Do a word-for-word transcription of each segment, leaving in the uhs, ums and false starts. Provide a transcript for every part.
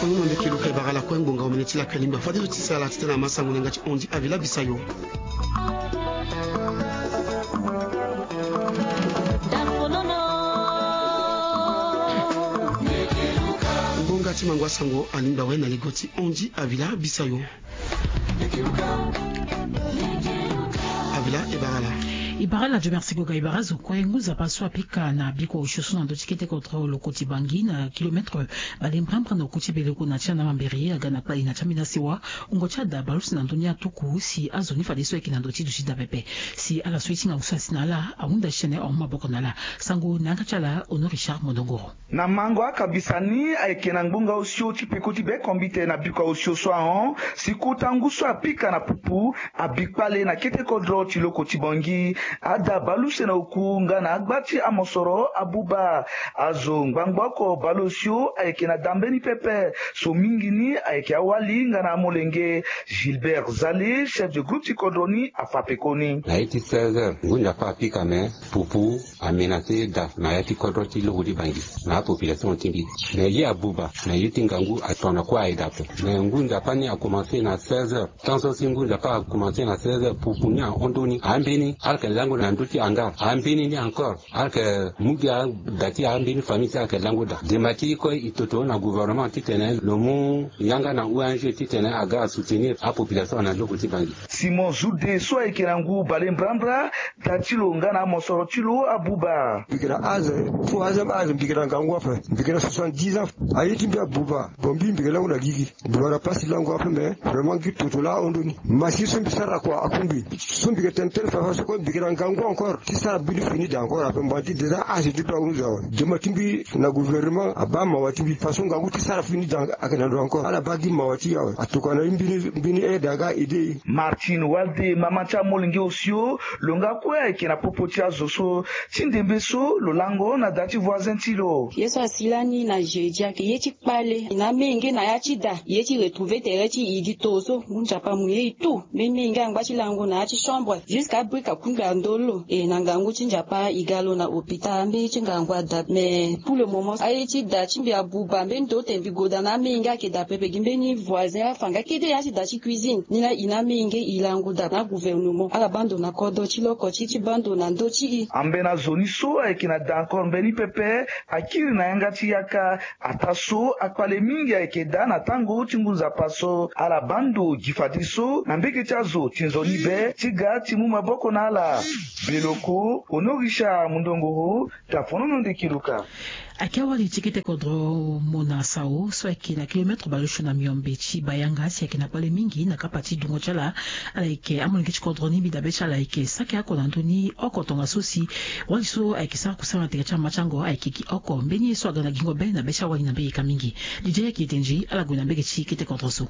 Unu na ndeke luka e bara ala kue ngbonga omene ti lakue lingba fadeso ti sala titene amasango na yanga ti ondi avila bisayo. Ngbonga ti mango asango alingba we na ligo ti ondi avila bisayo. Avila e bara ala. E bara ala jo merci goga e bara zo kue ngu nzapa so apika na biko osio so na ndö ti kete kodro lo koti bangi na kilometre bale mbrambra na oku ti beleko na ti ana mamberi aga na kpali na ti ambeni asewa. Wungo ti ada baleuse na ndö ni atuku si azo ni fadeso ayeke na ndö ti duti daa pepe. Si ala so ye ti ngangu so asi na ala ahunda ti tene ahon maboko na ala. Sango na yanga ti ala Honoré Richard Mondongoro. Na mango akabisa ni ayeke na ngbonga osio ti peko ti bekombite na biko osio so ahon si kota ngu so apika na pupu abi kpale na kete kodro ti loko ti bangi. Ada baleuse na oku nga na agba ti amosoro abuba. Azo ngbangba oko baleosio ayeke na da mbeni pepe so mingi ni ayeke awali nga na amolenge. Gilbert Zale, chef de groupe ti kodro ni, afa pekoni. Na ye ti seize heures ngu nzapa apika me pupu amenace da na ya ti kodro ti loko ti bangi na apopulation ti mbi. Me ye abuba na ye ti ngangu atona kue aye da ape. Me ngu nzapa ni akomanse na seize heures. Tant so si ngu nzapa akomanse na seize heures pupu ni ahon ndö ni ambeni ala yeke lango na ndö ti hangar ambeni ni encore ala yeke mu gi ada ti ambeni famille ti ala yeke lango da. Dema ti e kue e toto na gouvernement titene lo mu yanga na ong titene aga asoutenir apopulation na loko ti bangi. Simon Zude so ayeke na ngu bale mbrambra da ti lo nga na amosoro ti lo abuba. Mbi yeke na âge, fo âge âge mbi yeke na ngangu ape. Mbi yeke na soixante-dix ans. Aye ti mbi abuba. Bon mbi mbi yeke lango na gigi. Mbi wara pasi lango ape me vraiment gi toto laa ahon ndö ni. Machine so mbi sara kua akungbi. So mbi yeke tene tene fafa so kue mbi yeke na ngangu encore ti sara bini fini da encore ape mba ti déjà âge ti mbi ahunzu awe. Dema ti mbi na gouvernement abaa mawa ti mbi façon ngangu ti sara fini da ayeke na ndo encore ala baa gi mawa ti e awe atokua na e mbeni mbeni aide aga aide e. Martine Walde mama ti amolenge osio lo nga kue ayeke na popo ti azo so ti ndembe so lo lango na da ti voisin ti lo. Ye so asi lani na jeudi ayeke ye ti kpale na amenge na ya ti da ye ti retrouver tere ti e gi to so ngu nzapa amu ye e tout. Mbeni menge angba ti lango na ya ti chambre jusqu'à abrika kungbi andolo e na ngangu ti nzapa e ga lo na hôpital mbeni ti ngangu ada mais pour le moment aye ti da ti mbi abuba mbeni ndo te mbi goda na amenge ayeke da pepe gi mbeni voisin afa nga kete ya ti da ti cuisine ni na e na amenge e lango da na gouvernement ala baa ndo na kodro ti loko ti ti baa ndo na ndö ti e. Ambeni azo ni so ayeke na da encore mbeni pepe akiri na yanga ti yaka. Ataa so akpale mingi ayeke daa na tango ti ngu nzapa so ala baa ndo gi fadeso na mbege ti azo ti nzoni be ti ga ti mu maboko na ala. Beloko honorisha mundongoro. Tafonono ndeki luka. Ayeke awali ti kete kodro mona sao so ayeke na kilometre baleosio na miombe ti bayanga si ayeke na kpale mingi na kapa ti dungo ti ala. Ala yeke amolenge ti kodro ni mbi dabe ti ala ayeke saki oko na ndö ni oko tongaso si wali so ayeke sara kusala na tere ti amatango ayeke gi oko mbeni ye so aga na gingo be na be ti awali na mbege ka mingi. Didier ayeke denzi ala gue na mbege ti kete kodro so.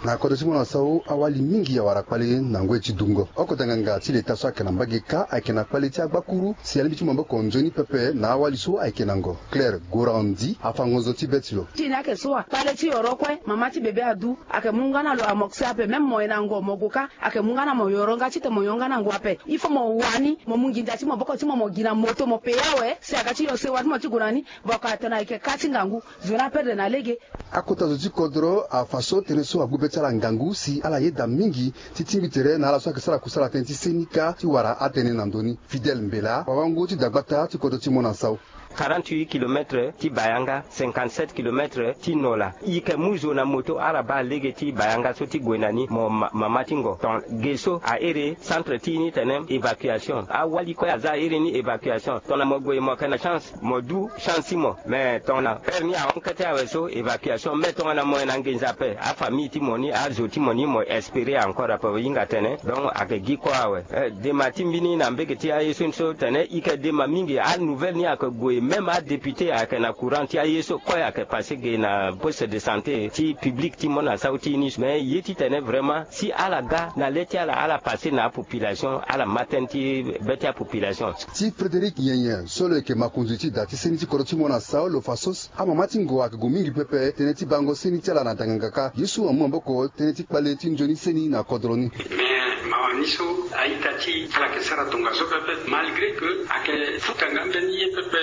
Na kodro ti mona sao awali mingi awara kpale na ngoi ti dungo oko danganga ti leta so ayeke na mbage kâ ayeke na kpale ti agbakuru si alingbi ti maboko nzoni pepe na awali so ayeke na ngo. Claire gorandi afa ngonzo ti be ti lo. Ti ni ayeke so wa kpale ti yoro kue mama ti bebe adu ayeke mu nga na lo amoksi ape même mo ye na ngo mo gue kâ ayeke mu nga na mo yoro nga titene mo yonga na ngo ape. Il faut mo wani mo mu nginza ti maboko ti mo mo gi na moto mo peye awe si aga ti yo sewa ti mo ti gue na ni. Boko atene ayeke kâ ti ngangu zo ni aperdre na lege. Akota zo ti kodro afa so tënë so agbu be ti ala ngangu si ala yeda mingi ti tingbi tere na ala so ayeke sara kusala tënë ti seni kâ ti wara atënë na ndö ni. Fidèle mbela wawango ti dagbata ti kodro ti mona sao. Quarante-huit kilomètres ti bayanga, cinquante-sept kilomètres ti nola. I yeke mu zo na moto ala baa lege ti bayanga so ti gue na ni mo mama ti ngo ton ge so ahere centre ti ni tene évacuation awali kue aza ahere ni évacuation tongana mo gue mo yeke na chance mo du chance ti mo. Mais tongana heure ni ahon kete awe so évacuation mais tongana mo yeke na nginza ape afamille ti mo ni azo ti mo ni mo espérer encore ape mo hinga tene donc ayeke gi kue awe. Dema ti mbi ni na mbege ti aye so ni so tene i yeke dema mingi anouvelle ni ayeke gue même adéputé ayeke na courant ti aye so kue ayeke passe ge na poste de santé ti public ti mona sau ti ni mais ye titene vraiment si ala ga na le ti ala ala passe na apopulation ala ma tënë ti be ti apopulation. Ti frédéric nyenyen so lo yeke makonzi ti da ti seni ti kodro ti mona sau lo fa so amama ti ngo ayeke gue mingi pepe tënë ti bango seni ti ala na danganga kâ ye so amu maboko tënë ti kpale ti nzoni seni na kodro ni. Mais mawa ni so a-ita ti ala yeke sara tongaso pepe malgré que ayeke futa nga mbeni ye pepe.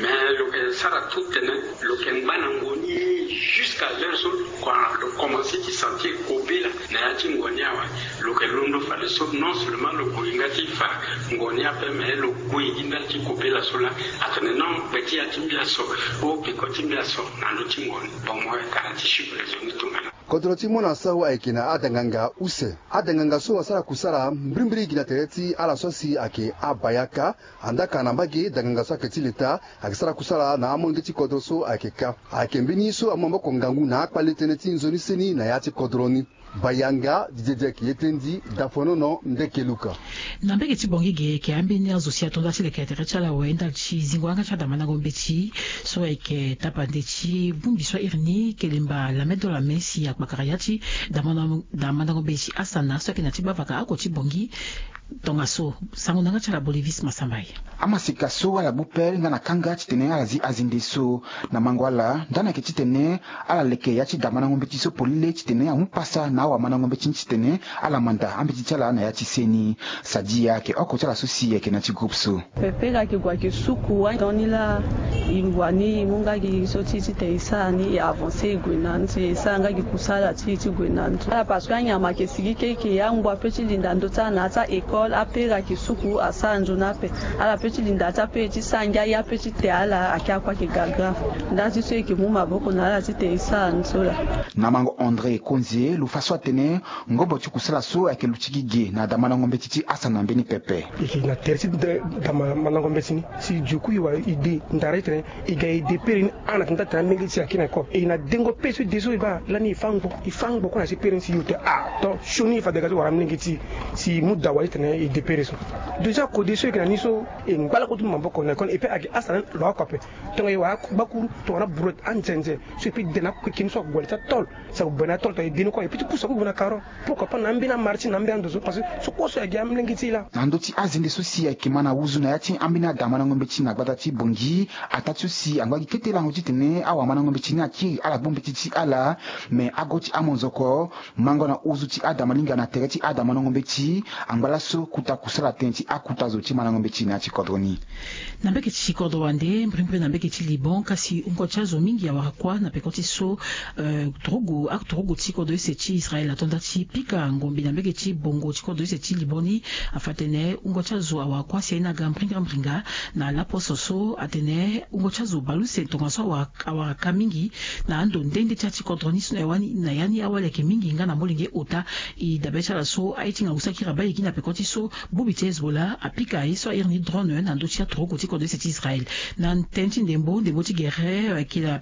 Mais lo yeke sara tout tene lo yeke ngba na ngo ni ye jusqu'à l'heure so. Ti ngon ni awe, lo yeke londo fadeso non seulement lo gue gi nga ti fa ngon ni ape, mais lo gue gi ndali ti kobela so laa. Atene non, gbe ti ya ti mbia so, o peko ti mbia so na ndö ti ngon ni. Bon, mo yeke tara ti chiffre zo ni tongana. Kodro ti mona sau ayeke na adanganga use. Adanganga so asara kusala mbirimbiri gi na tere ti ala so si ayeke abayaka. Andaa ka na mbage danganga so ayeke ti leta ayeke sara kusala na amolenge ti kodro so ayeke ka. Ayeke mbeni so amu maboko ngangu na akpale tënë ti nzoni seni na ya ti kodro ni. Bayanga didiedi ayeke ye ti ndi dafonono ndeke luka. Na mbage ti Bangui ge, ayeke ambeni azo si ato nda ti leke tere ti ala awe ndali ti zingo yanga ti adamandango mbeti so ayeke tapande ti bongbi so ahiri ni Kelemba Lame Dolame si akpakara ya ti damandango mbeti Asana so ayeke na ti gbavaka oko ti Bangui. Tongaso, sango na yanga ti ala Bolivis Masambai. Amaseka so ala gbu pele nga na kanga titene ala zi azende so na mango ala, ndani ayeke titene ala leke ya ti damandango mbeti so polele titene amu pasa na awamandango mbeti ni titene ala manda ambeti ti ala na ya ti seni. Sadia ayeke oko ti ala so si ayeke na ti groupe so. Pepe ga yeke gue ayeke suku adan ni laa. E wani e mu nga gi so ti e titene e sara ni, e avancer e gue na ni so e sara nga gi kusala ti e ti gue na ni so. Ala parce que anyama ayeke sigi keke, angbu ape ti linda ndö ti ala na ya ti a-école, ape ga yeke suku asara nzoni ape. Ala pe ti linda ti ape ti sara ngia, aye ape ti te ala, ayeke akua ayeke ga grave. Nda ti so e yeke mu maboko na ala titene e sara ni so laa. Na mango André Konzie lo fa so atene ngobo ti kusala so ayeke luti gi ge na damandango mbeti ti Asana mbeni pepe. E yeke na tere ti damandango mbeti ni si e dio ku e wara e de ndara titene e ga e de pere ni. Ana tene taa tene amolenge ti e ayeke na école, e na dengo pere so e de so e baa lani e fâ ngbo, e fâ ngbo kue na ti pere ni si e yo te, ah, donc sioni e fa dega ti wara amolenge ti e si e mu dawa titene e de pere so. Déjà kode so e yeke na ni so e ngba lakue ti mu maboko na école, e pe ayeke Asana lo oko ape. Tongana e wara akua gbakuru tongana brouette anzenze so e pe de na akue keke ni so ague na ya ti atôle. Si ague na atôle tongana e de ni kue e pe ti pusu akue gue na carreau. Pourquoi pas na ambeni amarché na ambeni ando so, parce que so kue so ayeke gi amolenge ti e laa. Na ndö ti azende so si ayeke ma na wuzu na ya ti ambeni adamandango mbeti na gbata ti Bangui, ataa ti so si angba gi kete lango titene awamandango mbeti ni akiri ala gbu mbeti ti ala. Me ago ti amonzoko mango na wuzu ti adamalingba na tere ti adamandango mbeti angba laso kota kusala tënë ti akota zo ti mandango mbeti na ya ti kodro ni. Na mbage ti kodro wande, mbirimbiri na mbage ti Liban, kasi wungo ti azo mingi awara kuâ na peko ti so, eh, turugu, aturugu ti kodro use ti Israël ato nda ti pika ngombe na mbage ti bongo ti kodro use ti Liban ni. Afa atene wungo ti azo awara kuâ si aye ni aga mbringa mbringa na laposo so atene wungo ti azo baleuse tongaso awara, awara ka mingi na ando nde nde ti ya ti kodro ni so na ya ni, na ya ni awali ayeke mingi nga na molenge ota. E dabe ti ala so aye ti ngangu so akiri abaa e gi na peko ti so Bongbi ti Hezbollah apika ye so ahiri ni drone na ndö ti aturugu ti kodro use ti Israël. Na tënë ti ndembo, ndembo ti gere, eh, ayeke na